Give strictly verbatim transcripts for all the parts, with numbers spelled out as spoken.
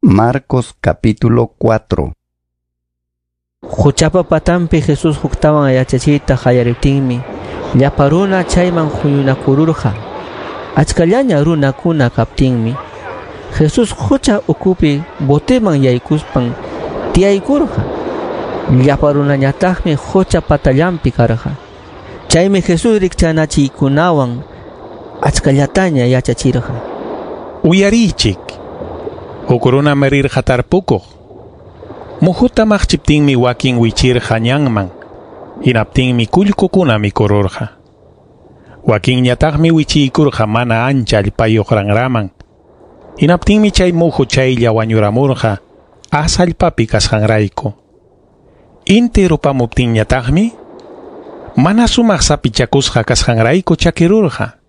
Marcos capítulo cuatro. Quchapa patanpi Jesús huktawan yachachiyta qallariptinmi llapa runa chayman huñunakururqa. Achkallaña runakuna kaptinmi Jesús qucha ukupi boteman yaykuspan tiyaykurqa. Llapa runañataqmi qucha patallanpi karqa. Chaymi Jesús rikchanachiykunawan achkallataña yachachirqa. Uyariychik. Huk runam rirqa tarpukuq. Muhuta maqchiptinmi wakin wichirqa ñanman. Hinaptinmi kullkukuna mikururqa. Wakinñataqmi wichiykurqa mana ancha allpayuq ranraman. Hinaptinmi chay muhu chaylla wañuramurqa as allpapi kasqanrayku. Inti rupamuptinñataqmi mana sumaq sapichakusqa kasqanrayku chakirurqa.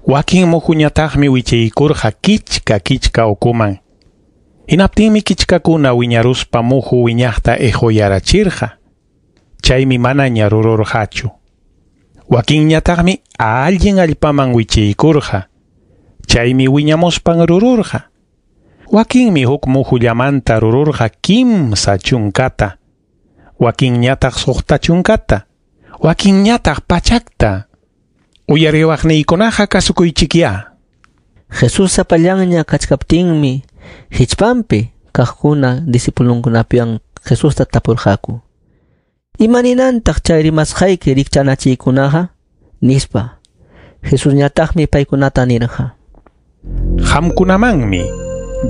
Wakin muhuñataqmi wichiykurqa kichka kichka ukuman. Hinaptinmi kichkakuna wiñaruspa muhu wiñaqta ejuyarachirqa. Chaymi manaña rururqachu. Wakinñataqmi allin allpaman wichiykurqa. Chaymi wiñamuspan rururqa. Wakinmi huk muhullamanta rururqa kimsa chunkata. Wakinñataq suqta chunkata. Wakinñataq pachakta. Uyariwaqniykunaqa kasukuychikyá. Jesús sapallanña kachkaptinmi hichpanpi kaqkuna discipulunkunapiwan Jesusta tapurqaku. Imaninantaq chay rimasqayki rikchanachiykunaqa? Nispa. Jesusñataqmi paykunata nirqa. Qamkunamanmi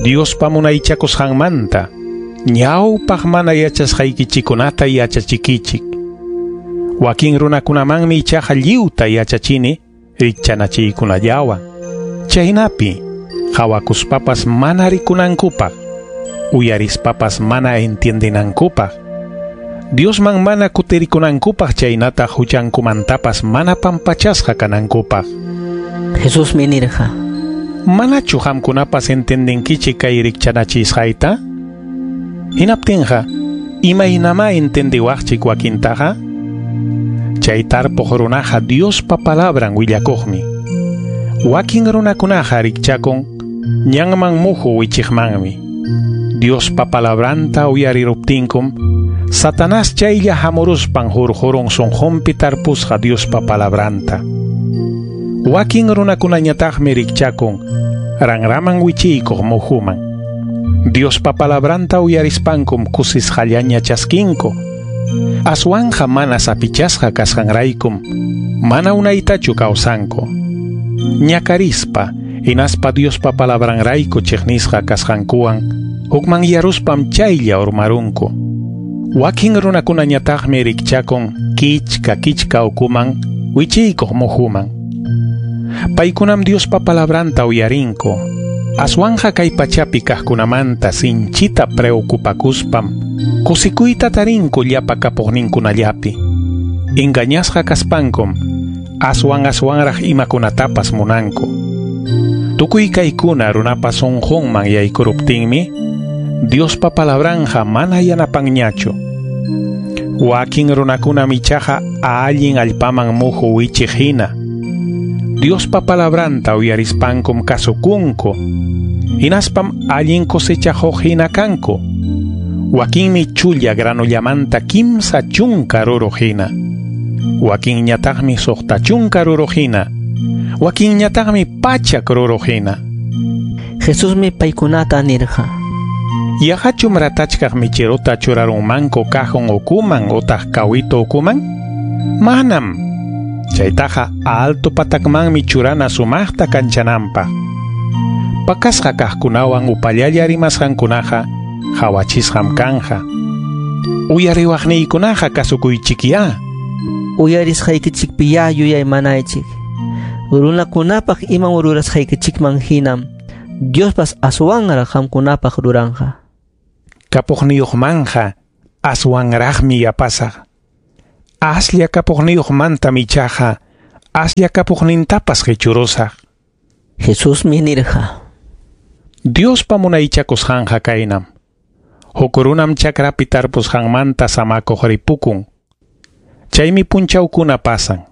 Diospa munaychakusqanmanta ñawpaq mana yachasqaykichikunata yachachikichik. Wakin runakunamanmi ichaqa lliwta yachachini rikchanachiykunallawan. Chaynapi qawakuspapas mana rikunankupaq, uyarispapas mana entiendenankupaq, Diosman mana kutirikunankupaq chaynataq huchankumantapas mana pampachasqa kanankupaq. Jesusmi nirqa. Manachu qamkunapas entendinkichik kay rikchanachisqayta? Hinaptinqa, imaynamá entendiwaqchik wakintaqa? Chay tarpuq runaqa Diospa palabran willakuqmi. Wakin runakunaqa rikchakun ñanman muhu wichiqmanmi. Diospa palabranta uyariruptinkum Satanás chaylla hamuruspan hurqurun sunqunpi tarpusqa Diospa palabranta. Wakin runakunañataqmi rikchakun ranraman wichiykuq muhuman. Diospa palabranta uyarispankum kusisqallaña chaskinku. Aswanja mana sapichasqa kasqanraykum mana unaytachu kawsanku. Ñakarispa hinaspa Diospa palabranrayku chiqnisqa kasqankuwan hukmanyaruspam chaylla urmarunku. Wakin runakunañataqmi rikchakun kichka kichka ukuman wichiykuq muhuman. Paykunam Diospa palabranta uyarinku. Aswanja kay pachapi kaqkunamanta sinchita preocupakuspam kusikuyta tarinku llapa kapuqninkunallapi. Engañasqa kaspankum aswan aswanraq imakunatapas munanku. Tukuy kaykuna runapa sunqunman yaykuruptinmi Diospa palabranja mana yanapanñachu. Wakin runakunam ichaqa allin allpaman muhu wichiq hina. Diospa palabranta uyarispankum kasukunku. Hinaspam allin cosechajuq hina kanku. Wakinmi chulla granullamanta kimsa chunka ruruq hina. Wakinñataqmi suqta chunka ruruq hina. Wakinñataqmi pachak ruruq hina. Jesusmi paykunata nirqa. Yaqachum ratachkaq michiruta churarunmanku cajon ukuman utaq kawito ukuman? Manam. Chaytaqa alto patakmanmi churana sumaqta kanchananpaq. Pakasqa kaqkunawan upallalla rimasqankunaqa hawachisqam kanja. Uyariwaqniykunaqa kasukuychikyá. Uyarisqaykichikpiyá yuyaymanaychik. Runakunapaq imam rurasqaykichikman hinam Diospas aswanraq qamkunapaq ruranqa. Kapuqniyuqmanja aswanraqmi yapasaq. Aslla kapuqniyuqmantam ichaqa aslla kapuqnintapas qichurusaq. Jesusmi nirqa. Diospa munaychakusqanqa kaynam. Huk runam chakrapi tarpusqanmanta samakuq ripukun. Chaymi punchawkuna pasan.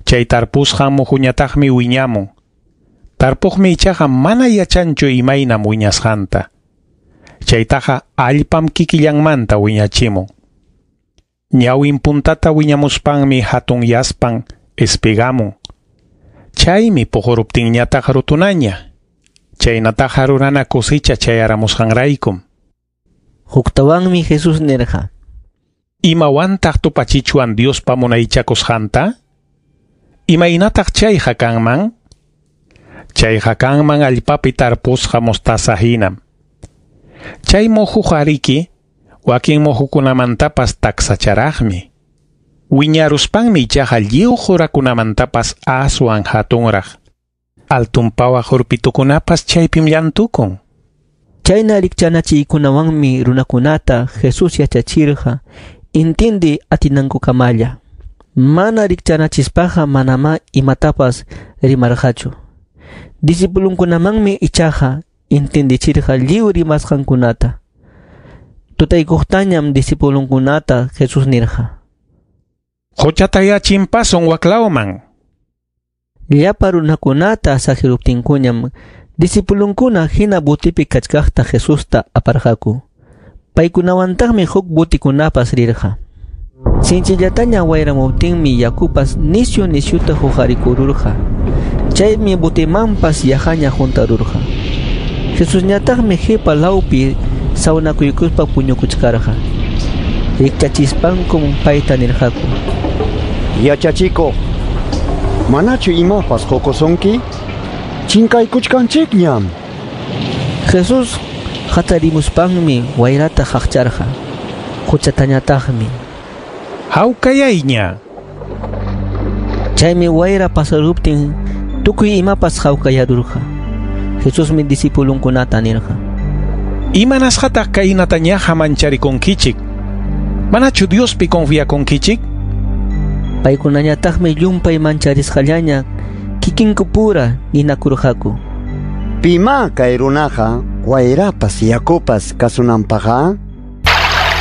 Chay tarpusqan muhuñataqmi wiñamun. Tarpuqmi ichaqa mana yachanchu imaynam wiñasqanta. Chaytaqa allpam kikillanmanta wiñachimun. Ñawin puntata wiñamuspanmi hatunyaspan espigamun. Chaymi puquruptinñataq rutunaña. Chaynataqa rurana kusicha chayaramusqanraykum. Huktawanmi Jesús nirqa: Imawantaq tupachichwan Diospa munaychakusqanta? Imaynataq chayqa kanman? Chayqa kanman allpapi tarpusqa mostaza hinam. Chay muhuqa riki wakin muhukunamantapas taksacharaqmi. Wiñaruspanmi ichaqa lliw qurakunamantapas aswan hatunraq. Altun pawaq urpitukunapas chaypim llantukun. Chayna rikchanachiykunawanmi runakunata Jesús yachachirqa intindi atinankukamalla. Mana rikchanachispaqa manamá imatapas rimarqachu. Discipulunkunamanmi ichaqa intindichirqa lliw rimasqankunata. Tutaykuqtañam discipulunkunata Jesús nirqa: Quchatayá chimpasun waklawman. Llapa runakunata saqiruptinkuñam discipulunkuna hina botipi kachkaqta Jesusta aparqaku. Paykunawantaqmi huk botikunapas rirqa. Sinchillataña wayramuptinmi yakupas nisyu nisyuta huqarikururqa. Chaymi botimanpas yaqaña huntarurqa. Jesusñataqmi qipa lawpi sawnakuykuspa puñukuchkarqa. Rikchachispankum payta nirqaku: Yachachikuq, manachu imapas qukusunki? Chinkaykuchkanchikñam. Jesús hatarimuspanmi wayrata qaqcharqa. Quchatañataqmi: Hawkayayña. Chaymi wayra pasaruptin tukuy imapas hawkayarurqa. Jesusmi discipulunkunata nirqa: Imanasqataq kaynatañaqa mancharikunkichik? Manachu Diospi confiakunkichik? Paykunañataqmi llumpay mancharisqallaña kikinkupura ninakurqaku: Pimá kay runaqa wayrapas yakupas kasunanpaqqa?